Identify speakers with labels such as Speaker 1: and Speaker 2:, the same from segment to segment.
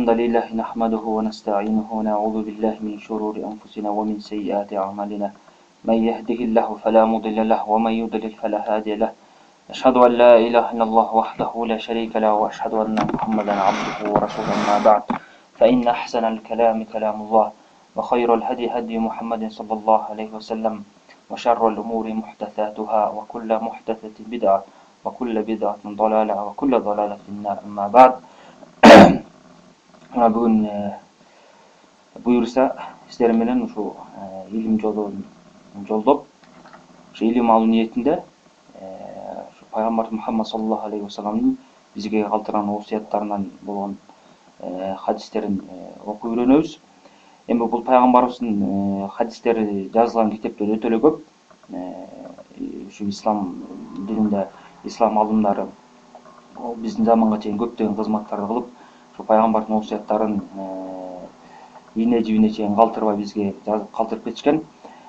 Speaker 1: الحمد لله نحمده ونستعينه ونعوذ بالله من شرور أنفسنا ومن سيئات أعمالنا من يهده الله فلا مضل له ومن يضلل فلا هادي له أشهد أن لا إله إلا الله وحده لا شريك له وأشهد أن محمدا عبده ورسوله أما بعد فإن أحسن الكلام كلام الله وخير الهدي هدي محمد صلى الله عليه وسلم وشر الأمور محدثاتها وكل محدثة بدعة وكل بدعة ضلالة وكل ضلالة في النار أما بعد. Бүгүн буюрса сиздер менен ушу илим жолун жолдоп, ушу илим алуу ниетинде пайгамбар Мухаммад саллаллаху алейхи вассаламдын бизге калтырган осуяттарынан болгон хадистерин окуп үйрөнөбүз. Эми бул пайгамбарыбыздын хадистери жазылган китептер өтө эле көп. Ушу ислам дининде ислам алымдары биздин заманга чейин көптөгөн кызматтарды кылып, пайгамбардын осуяттарын ийне жибине чейин калтырбай бизге жазып калтырып кетишкен.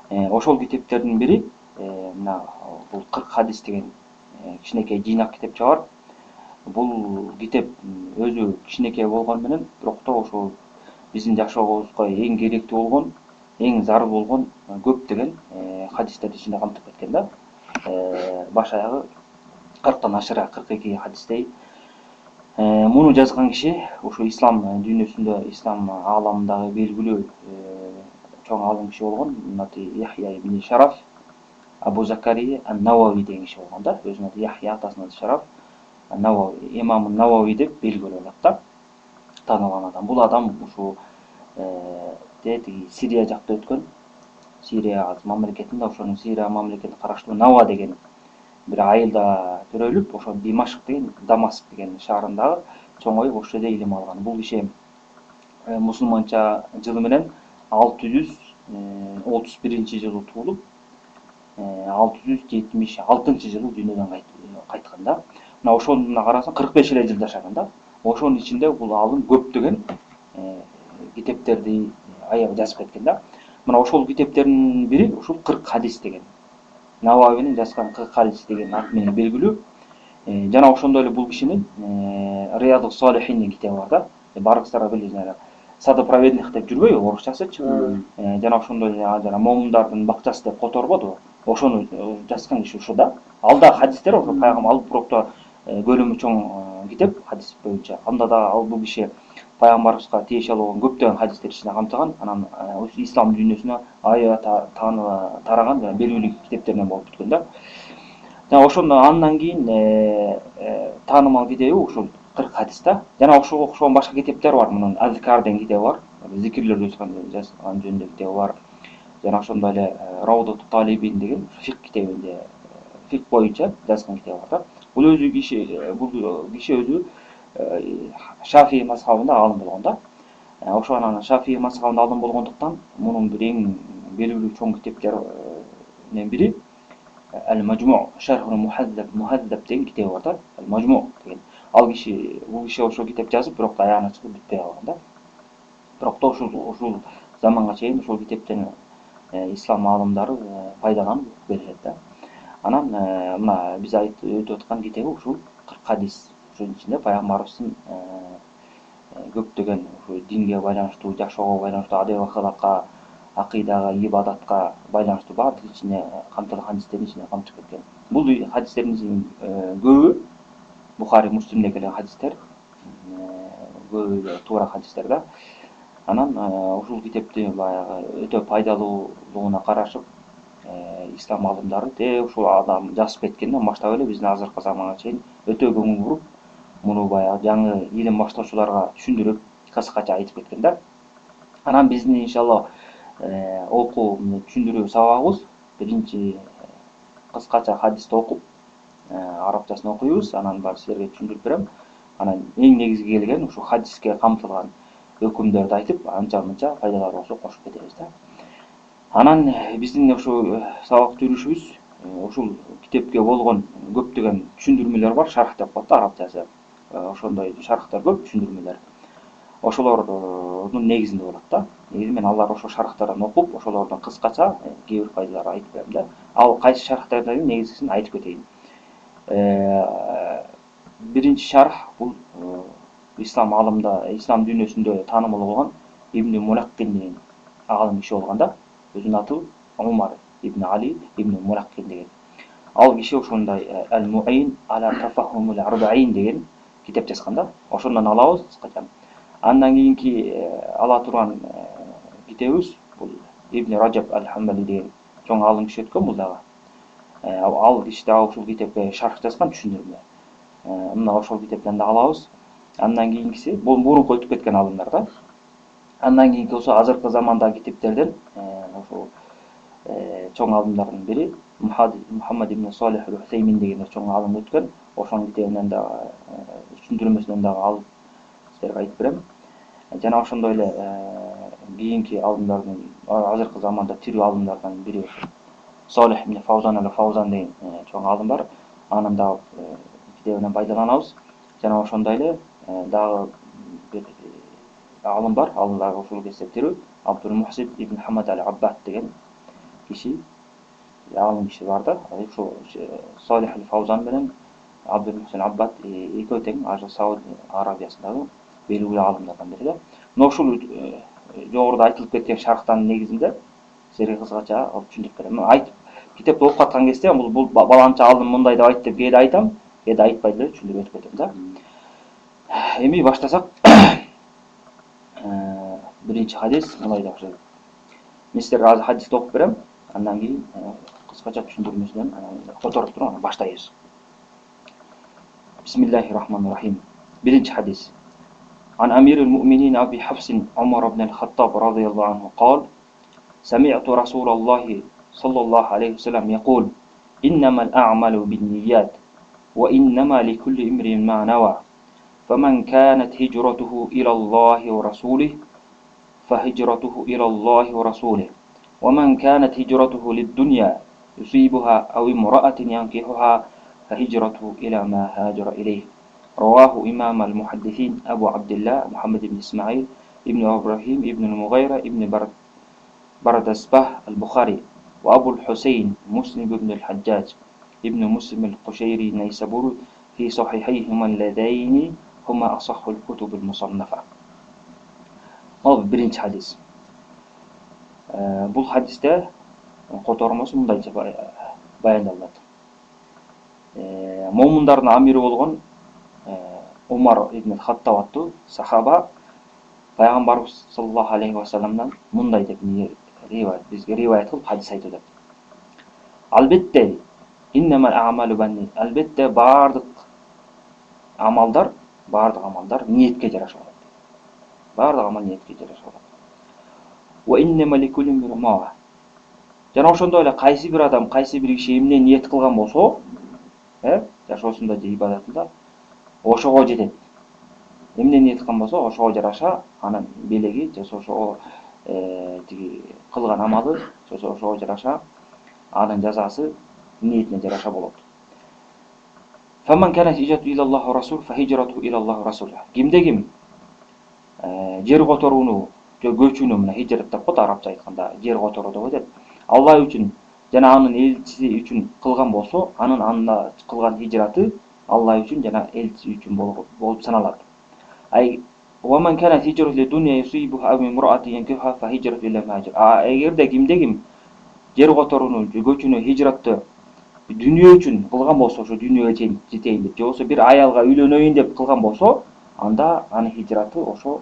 Speaker 1: Ошол китептердин бири мына бул 40 хадис деген кичинекей жыйнак китепче бар. Бул китеп өзү кичинекей болгону менен, бирок да ошол биздин жашообузга эң керектүү болгон, эң зарыл болгон көптөгөн хадистерди ичинде камтып кеткен да. Баш аягы 40тан ашыра 42 хадистей. Муну жазган киши ушу ислам дүйнөсүндө, ислам ааламындагы белгилүү чоң алым киши болгон, аты Яхья ибн Шараф Абу Закария ан-Навави деген киши болгон да. Өзүнүн аты Яхья, атасынын аты Шараф ан-Навави, имам Навави деп белгилүү болот да. Таанылган адам. Бул адам ушу Сирия жакта өткөн. Сирия мамлекетинде, ошонун Сирия мамлекетине караштуу Нава деген бир айылда төрөлүп, ошо Димашк деген, Дамаск деген шаарындагы чоңоюп ошол жерде илим алган. Бул киши мусулманча жылы менен 631-жылы туулуп, 676-жылы дүйнөдөн кайткан да. Мына ошондо карасаң 45 эле жыл жашаган да. Ошонун ичинде бул алым көптөгөн китептерди аябай жазып кеткен да. Мына ошол китептердин бири ушул 40 хадис деген. Нававинин жазган 40 хадис деген ат менен белгилүү. Жана ошондой эле бул кишинин Риядус Салихин деген китеби бар да. Барыңыздар билесиңер. Садопроверник деп жүрбөйбү, орусчасычы. Жана ошондой эле жана момундардын бакчасы деп которбодубу? Ошону жазган киши ушул да. Алда хадистер ошо пайгамбар алып бирокто көлөмү чоң китеп хадис боюнча. Анда да ал бул киши пайгамбарыбызга тиешелүү болгон көптөгөн хадистер ичине камтыган. Анан ислам дүйнөсүнө аябай тараган жана белгилүү китептеринен болуп бүткөн да. Жана ошондо андан кийин таанымал китеби ушул 40 хадис да. Жана ошого окшогон башка китептер бар. Мунун Азкар деген китеби бар. Зикирлерди жазган жөнүндө китеби бар. Жана ошондой эле Раудатут Талибин деген фик китебинде фик боюнча жазган китеби бар да. Бул киши өзү Шафии мазхабында алым болгон да. Ошонун Шафии мазхабында алым болгондуктан мунун бир эң белгилүү чоң китептеринен бири Ал-Majmu' Шархул Мухаддаб деген китеби бар да. Al-Majmu' деген. Бул киши ошол китеп жазып, бирок да аягына чыгып бүтпөй калган да. Бирок да ушул заманга чейин ошол китептен ислам аалымдары пайдаланып беришет да. Анан мына биз өтүп аткан китеби ушул 40 хадис. Ошонун ичинде пайгамбарыбыздын көптөгөн ушу динге байланыштуу, жашоого байланыштуу, адеп акылакка, акыйдага, ибадатка байланыштуу баардык ичине камтылган хадистердин ичине камтып кеткен. Бул хадистердин көбү Бухари, Муслимде келген хадистер, көбү туура хадистер да. Анан ушул китепти баягы өтө пайдалуулугуна карашып, ислам алымдары ушул адам жазып кеткенден баштап эле биздин азыркы заманга чейин өтө көңүл буруп, муну баягы жаңы илим баштоочуларга түшүндүрүп, кыскача айтып кеткен да. Анан биздин иншалла окуу түшүндүрүү сабагыбыз биринчи кыскача хадисти окуп, арабчасын окуйбуз, анан бар силерге түшүндүрүп берем. Анан эң негизги келген ушу хадиске камтылган өкүмдөрдү айтып, анча-мынча пайдалары болсо кошуп кетебиз да. Анан биздин ушу сабакты жүрүшүбүз ушул китепке болгон көптөгөн түшүндүрмөлөр бар, шарх деп коет да арабчасы. Ошондой шархтар көп, түшүндүрмөлөр. Ошолордун негизинде болот да. Негизи мен алар ошол шархтардан окуп, ошолордун кыскача кээ бир пайдаларын айтып берем да. Ал кайсы шархтардан негизгисин айтып кетейин. Биринчи шарх бул ислам ислам дүйнөсүндө таанымал болгон Ибн Мулаккин деген агылым киши болгон да. Өзүнүн аты Умар ибн Али ибн Мулаккин деген. Ал киши ошондой Ал-Муин ала тафахумул арбаин деген китеп жазган да. Ошондон алабыз кыскача. Андан кийинки ала турган китебибиз бул Ибн Раджаб Ал-Хамбали деген чоң алым киши өткөн бул дагы. Ал киши дагы ушул китепке шарх жазган түшүндүрмө. Мына ошол китептен да алабыз. Андан кийинкиси бул мурунку өтүп кеткен алымдар да. Андан кийинки болсо азыркы замандагы китептерден ошол чоң алымдардын бири Мухаммад ибн Салих Аль-Усеймин деген чоң алым өткөн. Ошонун китебинен да түшүндүрмөсүнөн дагы алып силерге айтып берем. Жана ошондой эле кийинки алымдардын азыркы заманда тирүү алымдардан бири Салих ибн Фаузан Аль-Фаузан деген чоң алым бар. Анын да китебинен пайдаланабыз. Жана ошондой эле дагы бир алым бар. Ал дагы ушул кезде тирүү Абдул Мухсин ибн Хамад Аль-Аббад деген киши алым киши бар да. Ошо Салих Аль-Фаузан менен Абдул Мухсин Аббад экөө тең Сауд Арабиясындагы белгилүү алымдардан бири да. Мына ушул жогоруда айтылып кеткен шархтан негизинде силерге кыскача алып түшүндүрүп берем. Айтып китепти окуп аткан кезде бул баланча алым мындай деп айтты деп кээде айтам, кээде айтпай деле түшүндүрүп өтүп кетем да. Эми баштасак. Биринчи хадис мындай деп баштайт. Мен силерге азыр хадисти окуп берем, андан кийин кыскача түшүндүрмөсүнөн которуп туруп анан баштайбыз. Бисмиллахир-рахманир-рахим. Биринчи хадис. Ан Амирул Муъминин Аби Хафсин Умар ибн Аль-Хаттаб радийаллаху анху قال سمعت رسول الله صلى الله عليه وسلم يقول إنما الأعمال بالنيات وإنما لكل امرئ ما نوى فمن كانت هجرته إلى الله ورسوله فهجرته إلى الله ورسوله ومن كانت هجرته للدنيا يصيبها أو امرأة ينكحها فهجرته إلى ما هاجر إليه. رواه إمام المحدثين أبو عبد الله محمد بن إسماعيل ابن إبراهيم ابن المغيرة ابن بردسبه البخاري وأبو الحسين مسلم بن الحجاج ابن مسلم القشيري النيسابوري في صحيحيهما اللذين هما أصح الكتب المصنفة. Ал биринчи хадис. Бул хадисте котормосу мындайча баяндалат. Момундардын амири болгон Умар ибн Хаттаб аттуу сахаба пайгамбарыбыз саллаллаху алейхи ва салламдан мындай деп бизге риваят кылып хадис айтып атат. Албетте иннамал аъмалу банни. Албетте бардык амалдар ниетке жараша болот. Бардык амал ниетке жараша болот. Ва иннама ликулли имри'ин. Жана ошондой эле кайсы бир адам, кайсы бир киши эмне ниет кылган болсо, жашоосунда же ибадатында ошого жетет. Эмне ниет кылган болсо, ошого жараша анын белеги, же ошого тиги кылган амалы, же ошого жараша анын жазасы ниетине жараша болот. Фаман кана хижрату илаллахи ва расул фа хижрату илаллахи ва расул. Кимде ким жер которууну, көчүүнү мына хижрат деп коет арабча айтканда, жер которуу деп атат. Алла үчүн жана анын элчиси үчүн кылган болсо, анын анда кылган хижраты Алла үчүн жана элчиси үчүн болуп саналат. Ай ومن كانت هجرة للدنيا يصيبها أو امرأة ينكحها فهجرة إلى ما هاجر. Эгерде кимде ким жер которууну, көчүүнү, хижратты дүйнө үчүн кылган болсо, ошо дүйнөгө жетейин деп, же болсо бир аялга үйлөнөйүн деп кылган болсо, анда анын хижраты ошо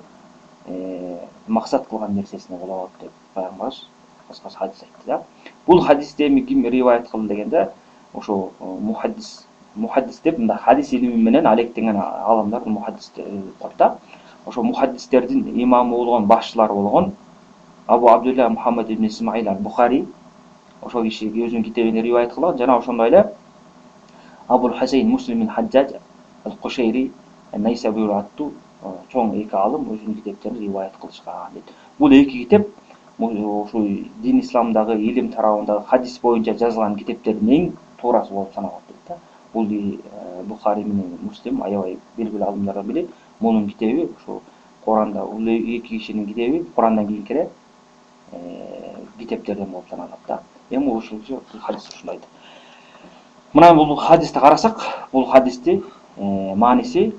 Speaker 1: максат кылган нерсесине болот деп пайгамбарыбыз кыскасы хадис айтты да. Бул хадисти эми ким риваят кылды дегенде, ошо мухаддис деп мында хадис илими менен алектенген аламдар мухаддис деп коет да. Ошо мухаддистердин имамы болгон, башчылары болгон Абу Абдулла Мухаммад ибн Исмаил Аль-Бухари ошол киши өзүнүн китебинде риваят кылган. Жана ошондой эле Абул Хусейн Муслим ибн Хаджаж Аль-Кушейри Найсабури аттуу чоң эки алым өзүнүн китептерин риваят кылышкан дейт. Бул эки китеп ушул дин исламдагы илим тарабындагы хадис боюнча жазылган китептердин эң туурасы болуп саналат дейт да. Бул Бухари менен Муслим аябай белгилүү алымдардан бири. Мунун китеби ушул Куранда, бул эки кишинин китеби Курандан кийинки эле китептерден болуп саналат да. Эми ушул хадис ушундайт. Мына бул хадисти карасак, бул хадисти мааниси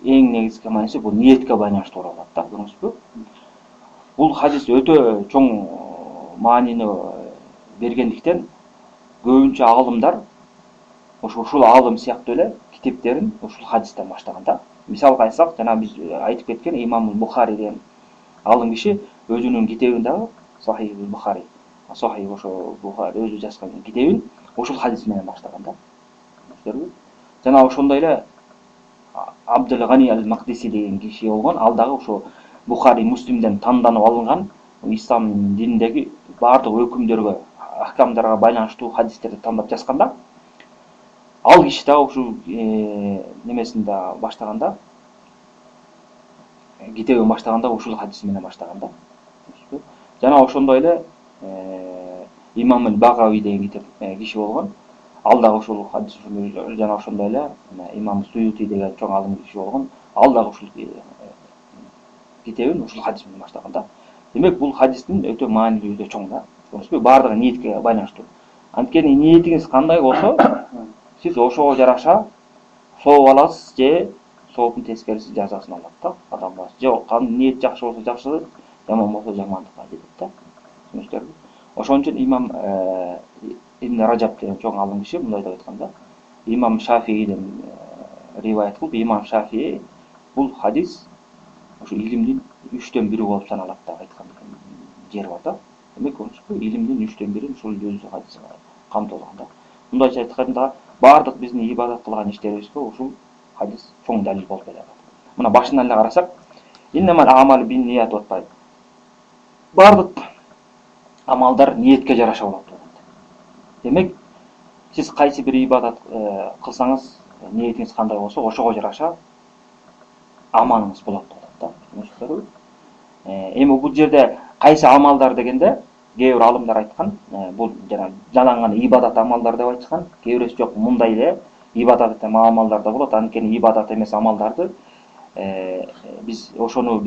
Speaker 1: эң негизги мааниси бул ниетке байланыштуу болот да, көрдүңүзбү? Бул хадис өтө чоң маанини бергендиктен көбүнчө аалымдар ушул аалым сыяктуу эле китептерин ушул хадистен баштаган да. Мисалга айтсак, жана биз айтып кеткен Имам Бухари деген аалым киши өзүнүн китебин дагы Сахих Бухари, Сахих ошо Бухари өзү жазган китебин ушул хадис менен баштаган да. Жана ошондой эле Абдул Гани аль-Мақдиси деген киши болгон, ал дагы ошо Бухари, Муслимден танданып алынган ислам дининдеги баардык өкүмдөргө, ахкамдарга байланыштуу хадистерди тандап жазган да. Ал киши дагы ушул немесин да баштаганда, китебин баштаганда ушул хадис менен баштаган да. Жана ошондой эле Имам аль-Багави деген киши болгон. Ал дагы ушул хадис жана ошондой эле Имам Суюти деген чоң аалым киши болгон. Ал дагы ушул китебин ушул хадис менен баштаган да. Демек бул хадистин өтө маанилүү, өтө чоң да. Көрдүңүзбү? Баардыгы ниетке байланыштуу. Анткени ниетиңиз кандай болсо, сиз ошого жараша сооп аласыз же сооптун тескериси жазасын алат да адамга. Же ниет жакшы болсо жакшы, жаман болсо жамандыкка кетет да. Түшүнүңүздөрбү? Ошон үчүн Имам Ибн Ражаб деген чоң аалым киши мындай деп айткан да. Имам Шафииден риваят кылып, Имам Шафии бул хадис ошо илимдин 3/1 болуп саналат деп айткан жери бар да. Демек, илимдин 3/1 ушул жүз хадис камтылган да. Мындайча айтканда, баардык биздин ибадат кылган иштерибизге ушул хадис чоң далил болуп келет. Мына башынан эле карасак, иннамал амалу бин ният деп атпайбы? Баардык амалдар ниетке жараша болот деп. Демек, сиз кайсы бир ибадат кылсаңыз, ниетиңиз кандай болсо, ошого жараша амалыңыз болот да. Түшүнүңүздөрбү? Эми бул жерде кайсы амалдар дегенде, кээ бир алымдар айткан, бул жана жалаң ибадат амалдар деп айткан, кээ бирөөсү жок, мындай эле ибадат амалдар да болот. Анткени ибадат эмес амалдарды биз ошону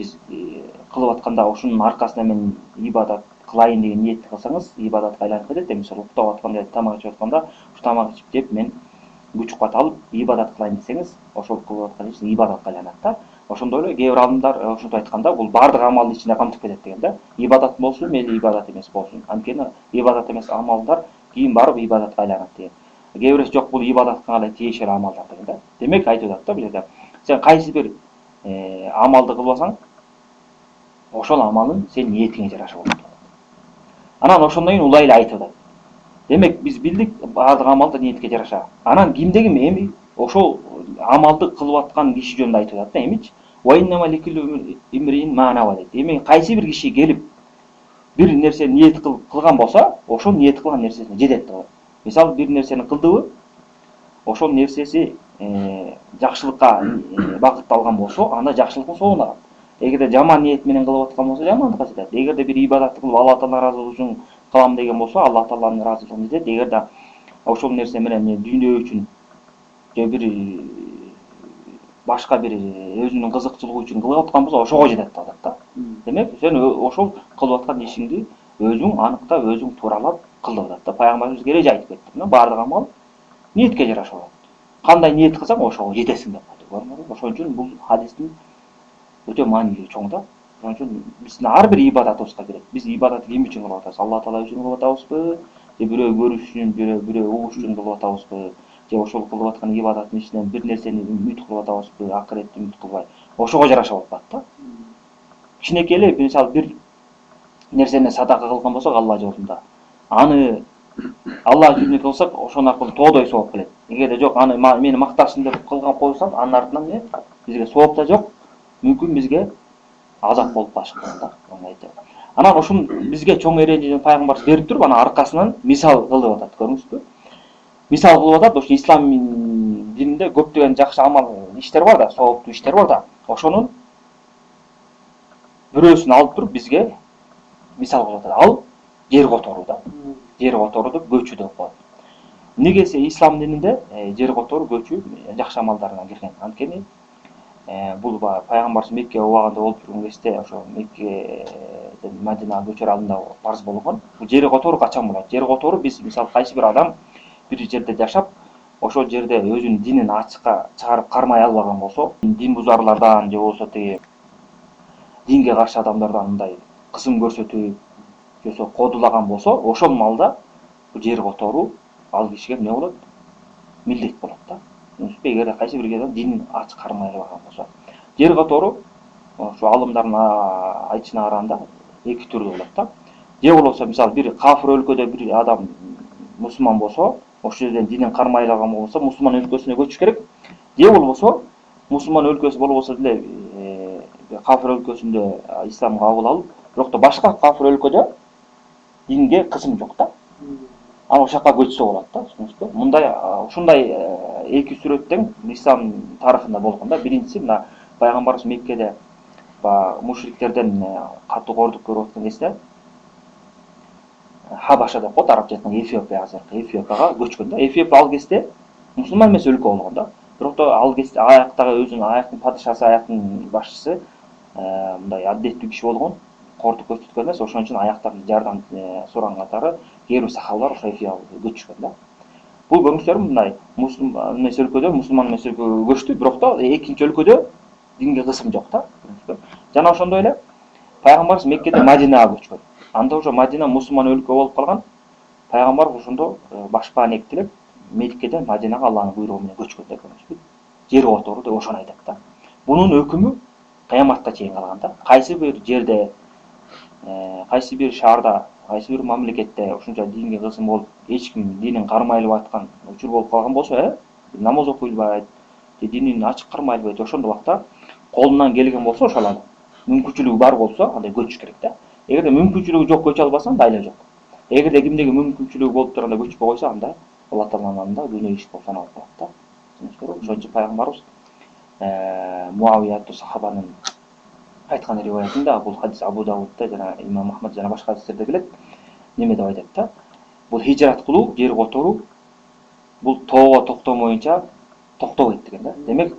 Speaker 1: кылып атканда, ошонун аркасында мен ибадат кылайын деген ниетти кылсаңыз, ибадатка айланып кетет. Мисалы, уктап атканда, тамак ичип атканда, ушу тамак ичип деп мен күч-кубат алып ибадат кылайын десеңиз, ошол кылып аткан иш ибадатка айланат да. Ошондой эле кээ бир алымдар ошентип айтканда, бул баардык амалдын ичине камтып кетет деген да. Ибадат болсун, мейли ибадат эмес болсун. Анткени ибадат эмес амалдар кийин барып ибадатка айланат деген. Кээ бирөөсү жок, бул ибадатка гана тиешелүү амалдар деген да. Демек, айтып атат да бул жерде. Сен кайсы бир амалды кылбасаң, ошол амалың сен ниетиңе жараша болот. Анан ошондон кийин улай эле айтып атат. Демек, биз билдик баардык амалда ниетке жараша. Анан кимдеги эми ошол амалды кылып аткан киши жөнүндө айтып атат да, эмичи? Ва иннама ликулли имриин ма нава дейт. Эми кайсы бир киши келип бир нерсени ниет кылган болсо, ошол ниет кылган нерсесине жетет да. Мисалы, бир нерсени кылдыбы, ошол нерсеси жакшылыкка багытталган болсо, анда жакшылыктын соогун алат. Эгерде жаман ниет менен кылып аткан болсо, жамандыкка жетет. Эгерде бир ибадат кылып Алла Таала ыраазылыгы үчүн кылам деген болсо, Алла Тааланын ыраазылыгына жетет. Эгерде ошол нерсе менен дүйнө үчүн же бир башка бир өзүнүн кызыкчылыгы үчүн кылып аткан болсо, ошого жетет деп атат да. Демек, сен ошол кылып аткан ишиңди өзүң аныктап, өзүң тууралап кыл деп атат да. Пайгамбарыбыз эреже айтып кетти. Баардык амал ниетке жараша болот. Кандай ниет кылсаң, ошого жетесиң деп атат. Ошон үчүн бул хадистин өтө маанилүү чоң да. Ошон үчүн биздин ар бир ибадатыбызга кирет. Биз ибадатты ким үчүн кылып атабыз? Алла Таала үчүн кылып атабызбы? Же бирөө көрүш үчүн, бирөө угуш үчүн кылып атабызбы? Же ошол кылып аткан ибадаттын ичинен бир нерсени үмүт кылып атабызбы? Акыретти үмүт кылбай. Ошого жараша болуп атат да. Кичинекей эле, мисалы, бир нерсени садака кылган болсок Алла жолунда, аны Алла үчүн кылсак, ошон аркылуу тоодой сооп келет. Эгерде жок, аны мени макташсын деп кылган койсам, анын артынан бизге сооп да жок, мүмкүн бизге азап болуп калышы мүмкүн да. Анан ушун бизге чоң эрежени пайгамбарыбыз берип туруп, анан аркасынан мисал кылып атат, көрдүңүзбү? Мисал кылып атат, ошо ислам дининде көптөгөн жакшы амал иштер бар да, сооптуу иштер бар да. Ошонун бирөөсүн алып туруп бизге мисал кылып атат. Ал жер которуу да. Жер которуу деп көчүү деп коет. Негеси ислам дининде жер которуу, көчүү жакшы амалдарына кирген. Анткени бул пайгамбарыбыз Мекке убагында болуп турган кезде, ошо Меккеден Мадинага көчөр алдында парз болгон. Бул жер которуу качан болот? Жер которуу биз мисалы кайсы бир адам бир жерде жашап, ошол жерде өзүнүн динин ачыкка чыгарып кармай албаган болсо, дин бузарлардан же болбосо тиги динге каршы адамдардан мындай кысым көрсөтүп, же болбосо кодулаган болсо, ошол маалда жер которуу ал кишиге эмне болот? Милдет болот да. Түшүнүңүзбү? Эгерде кайсы бир адам динин ачык кармай албаган болсо, жер которуу ошо алымдардын айтышына караганда эки түрдүү болот да. Же болбосо мисалы бир кафир өлкөдө бир адам мусулман болсо, ошол жерден динин кармай алган болсо, мусулман өлкөсүнө көчүш керек. Же болбосо мусулман өлкөсү болбосо деле кафир өлкөсүндө исламды кабыл алып, бирок да башка кафир өлкөдө динге кысым жок да. Ана ошол жака көчсө болот да, түшүнүңүзбү? Мындай ушундай эки сүрөт тең ислам тарыхында болгон да. Биринчиси мына пайгамбарыбыз Меккеде баягы мушриктерден катуу кордук көрүп аткан кезде Хабаша деп коет, арабча айтканда Эфиопия, азыркы Эфиопияга көчкөн да. Эфиопия ал кезде мусулман эмес өлкө болгон да. Бирок да ал кезде аяктагы өзүнүн аяктын падышасы, аяктын башчысы мындай аддеттүү киши болгон, кордук көрсөткөн эмес, ошон үчүн аяктарын жардам сураган катары кээ бир сахабалар ошо Эфиопияга көчкөн да. Бул көрүңүздөр мындай мусулман эмес өлкөдө, мусулман эмес өлкөгө көчтү, бирок да экинчи өлкөдө динге кысым жок да. Жана ошондой эле пайгамбарыбыз Меккеде Мадинага көчкөн. Анда ошо Мадина мусулман өлкө болуп калган. Пайгамбар ошондо башпаан эктелип Меккеден Мадинага Алланын буйругу менен көчкөн да, көрүңүзбү? Жер которуу деп ошону айтат да. Бунун өкүмү кыяматка чейин калган да. Кайсы бир жерде, кайсы бир шаарда, кайсы бир мамлекетте ушунча динге кысым болуп, эч ким динин кармай албай аткан учур болуп калган болсо, намаз окуй албайт, же динин ачык кармай албайт, ошондой убакта колунан келген болсо, ошол адам мүмкүнчүлүгү бар болсо, андай көчүш керек да. Эгерде мүмкүнчүлүгү жок, көчө албаса, анда айла жок. Эгерде кимдеги мүмкүнчүлүгү болуп турганда көчпөй койсо, анда Алла Тааланын алдында дүйнө иш болуп саналып калат да. Түшүнүңүздүрбү? Ошон үчүн пайгамбарыбыз Муавия аттуу сахабанын айткан риваятында, бул хадис Абу Давудда жана Имам Ахмад жана башка хадистерде келет. Неме деп айтат да? Бул хижрат кылуу, жер которуу бул тоого токтомоюнча токтобойт деген да. Демек,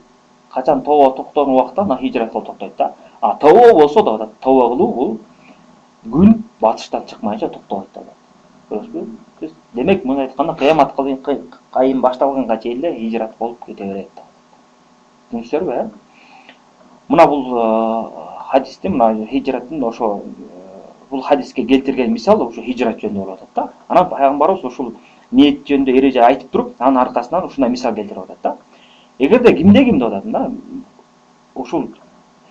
Speaker 1: качан тоого токтогон убакта ана хижрат кылуу токтойт да. А тоого болсо да, тоого кылуу бул күн батыштан чыкмайынча токтобойт да. Көрүңүзбү? Демек, муну айтканда кыямат кайым башталганга чейин эле хижрат болуп кете берет да. Түшүнүңүздөрбү? Мына бул хадисти, мына хижраттын ошо бул хадиске келтирген мисал ошо хижрат жөнүндө болуп атат да. Анан пайгамбарыбыз ушул ниет жөнүндө эреже айтып туруп, анын аркасынан ушундай мисал келтирип атат да. Эгерде кимде деп атат да, ушул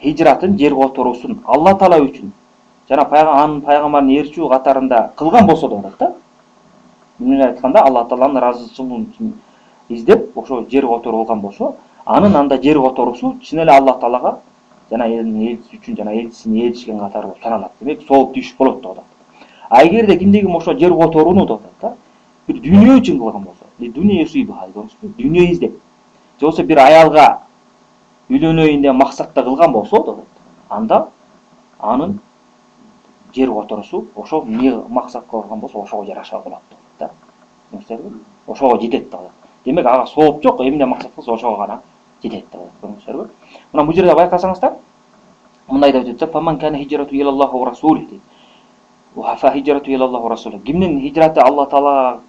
Speaker 1: хижратын, жер которуусун Алла Таала үчүн жана анын пайгамбарын ээрчүү катарында кылган болсо деп атат да. Муну айтканда Алла Тааланын ыраазычылыгын үчүн издеп, ошо жер которуу кылган болсо, анын анда жер которуусу чын эле Алла Таалага жана элчиси үчүн жана элчисине ээрчишкен катары болуп саналат. Демек, сооп тийиш болот деп атат. А эгерде кимдеги ошо жер которууну деп атат да, бир дүйнө үчүн кылган болсо, дүйнө издеп, же болбосо бир аялга үйлөнөйүн деген максатта кылган болсо деп атат, анда анын жер которуусу ошо эмне максатка кылган болсо, ошого жараша болот деп атат да. Түшүнүңүздөрбү? Ошого жетет деп атат. Демек, ага сооп жок, эмне максат кылса ошого гана жетет деп атат. Көрүңүздөрбү? Мына бул жерде байкасаңыздар, мындай деп айтат: "Фаман кана хижрату илаллахи ва расулихи" дейт. Ва фа хижрату илаллахи ва расулихи. Кимдин хижраты Алла Таалага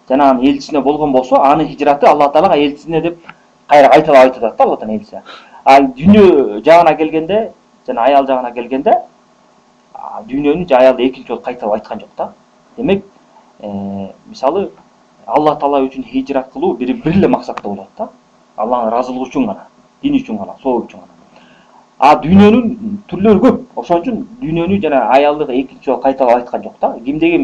Speaker 1: жана анын элчисине болгон болсо, анын хижраты Алла Таалага, элчисине деп кайра кайталап айтып атат да, Алла Тааланын элчиси. А дүйнө жагына келгенде, жана аял жагына келгенде, дүйнөнү же аялды экинчи жолу кайталап айткан жок да. Демек, мисалы Алла Таала үчүн хижрат кылуу бир эле максатта болот да. Алланын ыраазылыгы үчүн гана, дин үчүн гана, соо үчүн гана. А дүйнөнүн түрлөрү көп. Ошон үчүн дүйнөнү жана аялды экинчи жолу кайталап айткан жок да. Кимдеги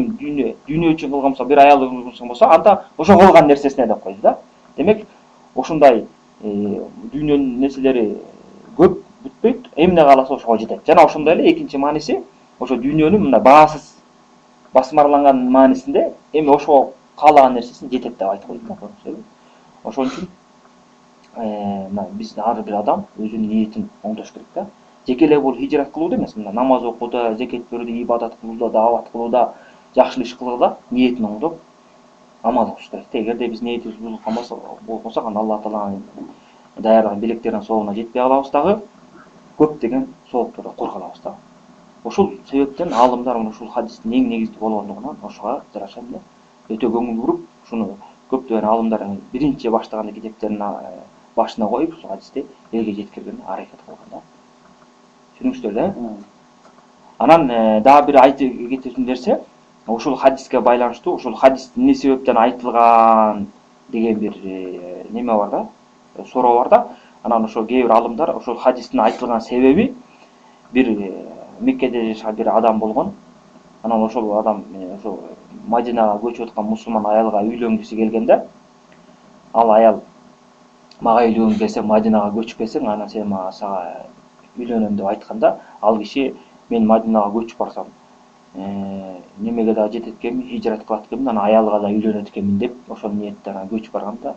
Speaker 1: дүйнө үчүн кылган болсо, бир аялды кылган болсо, анда ошо кылган нерсесине деп койду да. Демек, ошундай дүйнөнүн нерселери көп бүтпөйт, эмне кааласа ошого жетет. Жана ошондой эле экинчи мааниси, ошо дүйнөнүн мына баасыз басмарланган маанисинде эми ошого каалаган нерсесин жетет деп айтып койду да. Ошон үчүн мына биз ар бир адам өзүнүн ниетин оңдош керек да. Жеке эле бул хижрат кылууда эмес, мына намаз окууда, зекет берүүдө, ибадат кылууда, даават кылууда, жакшы иш кылууда ниетин оңдоп амал кылыш керек да. Эгерде биз ниетибиз бузулган болсок, анда Алла Тааланын даярдаган белектеринин соогуна жетпей калабыз дагы, көптөгөн сооптордон кур калабыз да. Ошол себептен аалымдар ушул хадистин эң негизги болгондугунан ошого жараша эле өтө көңүл буруп, ушуну көптөгөн аалымдар биринчи баштаганда китептерин башына коюп ушул хадисти элге жеткиргенге аракет кылган да. Түшүнүңүздөр да? Анан дагы бир айтып кетүүсүн нерсе, ушул хадиске байланыштуу, ушул хадис эмне себептен айтылган деген бир неме бар да, суроо бар да. Анан ошо кээ бир аалымдар ушул хадистин айтылган себеби бир Меккеде жашаган бир адам болгон. Анан ошол адам ошо Мадинага көчүп аткан мусулман аялга үйлөнгүсү келген да. Ал аял мага үйлөнгүң келсе Мадинага көчүп келсең, анан сен сага үйлөнөм деп айтканда, ал киши мен Мадинага көчүп барсам, немеге да жетет экенмин, хижрат кылат экенмин, анан аялга да үйлөнөт экенмин деп ошол ниетте көчүп барганда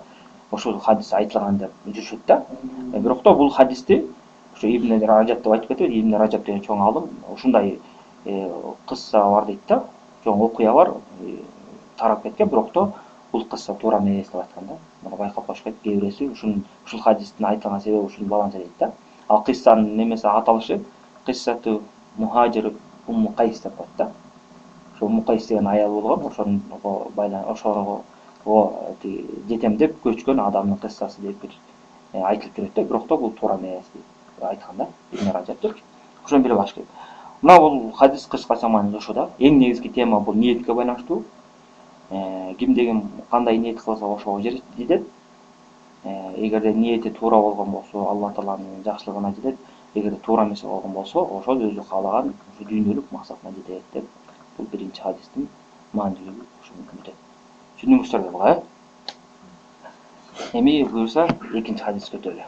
Speaker 1: ошол хадис айтылган деп жүрүшөт да. Бирокто бул хадисти ушу Ибн Ражаб деп айтып кетет. Ибн Ражаб деген чоң аалым ушундай кысса бар дейт да. Чоң окуя бар, тарап кеткен, бирокто бул кысса туура эмес деп айткан да. Муну байкап коюш керек. Кээ бирөөсү ушул хадистин айтылган себеби ушул баланча дейт да. Ал кыссанын немеси аталышы кыссату Мухажир Умму Кайс деп коет да. Ошо Умму Кайс деген аял болгон, ошого жетем деп көчкөн адамдын кыссасы деп бир айтылып жүрөт да. Бирокто бул туура эмес деп айткан да. Ибн Ражаб. Ошону билип алыш керек. Мына бул хадис кыскача мааниде ошо да. Эң негизги тема бул ниетке байланыштуу. Кимде ким кандай ниет кылса ошого жетет. Эгерде ниети туура болгон болсо, Алла Тааланын жакшылыгына жетет. Эгерде туура эмес болгон болсо, ошол өзү каалаган дүйнөлүк максатына жетет деп бул биринчи хадистин маанилүүлүгү ушуну бүтөт. Түшүндүңүздөр буга, Эми буюрса экинчи хадиске өтөлү.